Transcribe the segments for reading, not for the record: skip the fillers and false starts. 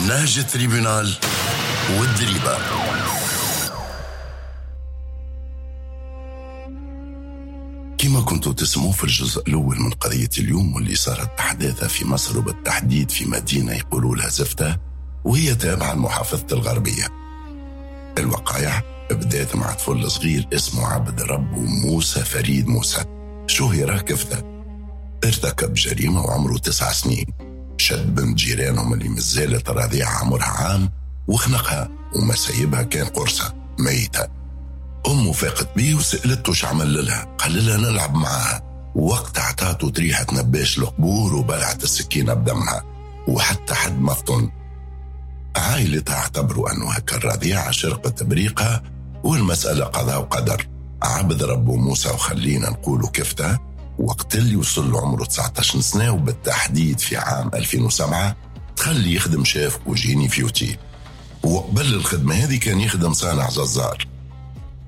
نهج ال tribunal والدريبة. كما كنتوا تسمعوا في الجزء الأول من قضية اليوم واللي صارت أحداثها في مصر، وبالتحديد في مدينة يقولوا لها زفتة، وهي تابعة لمحافظة الغربية. الوقائع بدأت مع طفل صغير اسمه عبد رب موسى فريد موسى، شهر كفتة. ارتكب جريمة وعمره 9 سنين، شد بنت جيرانهم اللي مازالت رضيعة عمرها عام وخنقها وما سايبها كان قرصة ميتة. أمه فاقت بيه وسألته شو عمل لها، قال لها نلعب معاها. وقت عطاته تريحة نباش القبور وبلعت السكينة بدمها، وحتى حد ما فطن. عائلتها اعتبروا أنه هكا الرضيعة شرقت بريقها والمسألة قضاء وقدر. عبد ربه موسى وخلينا نقوله كفتة وقت اللي وصل عمره 19 سنة، وبالتحديد في عام 2007 تخلي يخدم chef cuisinier في أوتيل. وقبل الخدمة هذه كان يخدم صانع جزار.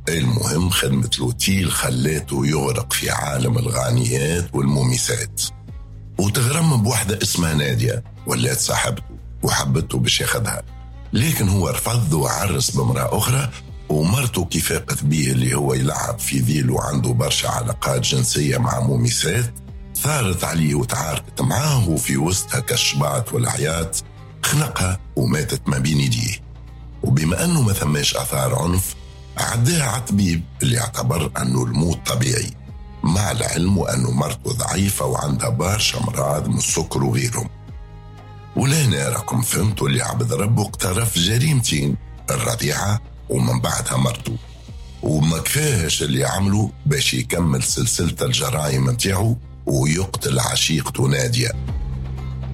المهم خدمة الأوتيل خلاته يغرق في عالم الغانيات والمومسات، وتغرم بوحدة اسمها نادية، ولات صاحبته وحبته باش ياخدها، لكن هو رفض وعرس بامرأة أخرى. ومرته كي فاقت بيه اللي هو يلعب في ذيل وعنده برشا علاقات جنسية مع مومسات، ثارت عليه وتعاركت معاه، وفي وسطها كالشبعت والعياط خنقها وماتت ما بين يديه. وبما أنه ما ثماش أثار عنف، عداها على الطبيب اللي اعتبر أنه الموت طبيعي، مع العلم وأنه مرته ضعيفة وعندها برشا أمراض من السكر وغيرهم. ولهنا راكم فهمتوا اللي عبد ربه اقترف جريمتين، الرضيعة ومن بعدها مرته، وما كفاهش اللي عمله باش يكمل سلسلة الجرائم متاعه ويقتل عشيقته نادية.